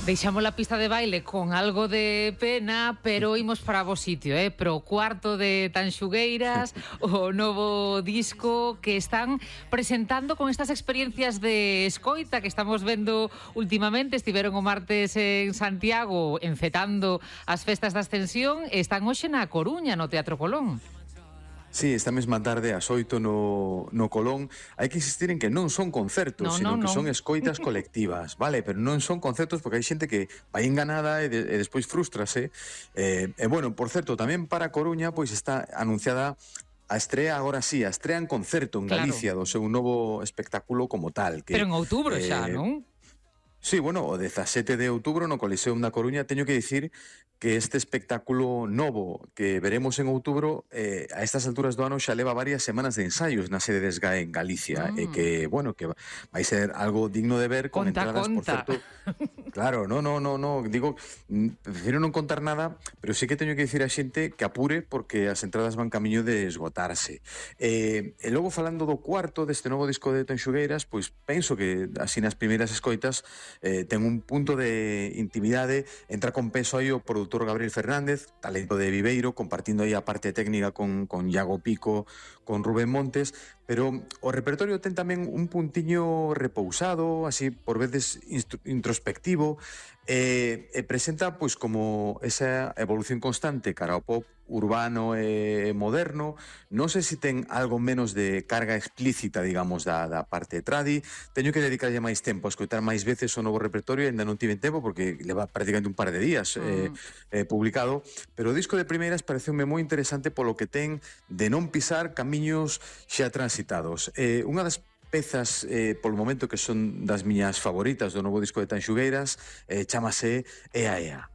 Deixamos la pista de baile con algo de pena, pero imos para bo sitio, pro cuarto de Tanxugueiras, o novo disco que están presentando con estas experiencias de escoita que estamos vendo últimamente. Estiveron o martes en Santiago encetando as festas da Ascensión e están hoxe na Coruña, no Teatro Colón. Sí, esta mesma tarde ás 8 no Colón. Hai que insistir en que non son concertos, sino que son escoitas colectivas, vale? Pero non son concertos porque hai xente que vai enganada e despois frustrase. Bueno, por certo, tamén para Coruña pois está anunciada a estrea, agora sí, a estrea en concerto en Galicia do seu novo espectáculo como tal. Pero en outubro xa, non? Sí, bueno, o 17 de outubro no Coliseum da Coruña. Teño que dicir que este espectáculo novo que veremos en outubro a estas alturas do ano xa leva varias semanas de ensaios na sede de SGAE en Galicia e que, bueno, que vai ser algo digno de ver con entradas, por certo. Claro, no, digo, prefiro non contar nada, pero sí que teño que dicir a xente que apure porque as entradas van camiño de esgotarse. E logo falando do cuarto deste novo disco de Tanxugueiras, pois penso que así nas primeiras escoitas ten un punto de intimidade. Entra con peso aí o produtor Gabriel Fernández, talento de Viveiro, compartindo aí a parte técnica con Iago Pico, con Rubén Montes, pero o repertorio ten tamén un puntiño repousado, así por veces introspectivo, e presenta pois como esa evolución constante cara ao pop urbano e moderno. Non sei se ten algo menos de carga explícita, digamos, da parte tradi. Teño que dedicarlle máis tempo a escoitar máis veces o novo repertorio, ainda non tiven tempo porque leva prácticamente un par de días publicado, pero o disco de primeiras pareceume moi interesante polo que ten de non pisar camiños xa transitados. Unha das pezas polo momento que son das miñas favoritas do novo disco de Tanxugueiras chamase Ea Ea.